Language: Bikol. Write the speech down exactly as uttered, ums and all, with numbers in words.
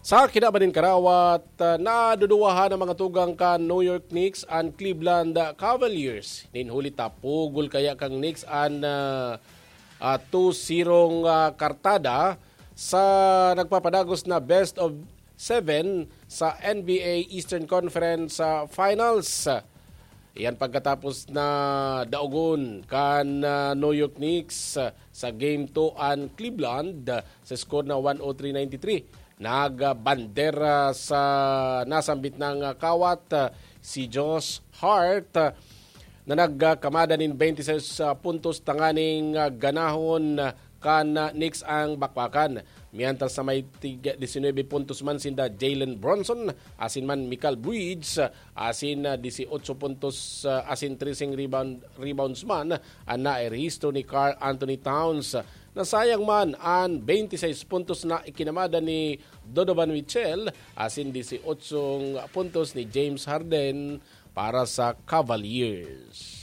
Sa kinaban nin karawat, ah, naduduwahan ang mga tugang kan New York Knicks an Cleveland Cavaliers. Nin huli ta, pugol kaya kan Knicks an, ah, ah, two zero, ah, kartada sa nagpapadagos na best of seven sa N B A Eastern Conference, ah, Finals. Iyan pagkatapos na daogon kan, ah, New York Knicks, ah, sa Game two an Cleveland, ah, sa score na one oh three ninety-three. Nagbandera sa nasambit nang, ah, kawat, ah, si Josh Hart, ah, na nagkamada nin twenty-six, ah, puntos tanganing, ah, ganahon, ah, kan, ah, Knicks ang bakbakan. Mientras na may tig-, diecinuebe puntos man sinda Jalen Brunson, asin man Mikal Bridges, ah, asin, ah, dieciocho puntos, ah, asin trese rebound, rebounds man ang nairehistro ni Karl Anthony Towns. Nasayang man an twenty-six puntos na ikinamada ni Donovan Mitchell, asin dieciocho puntos ni James Harden para sa Cavaliers.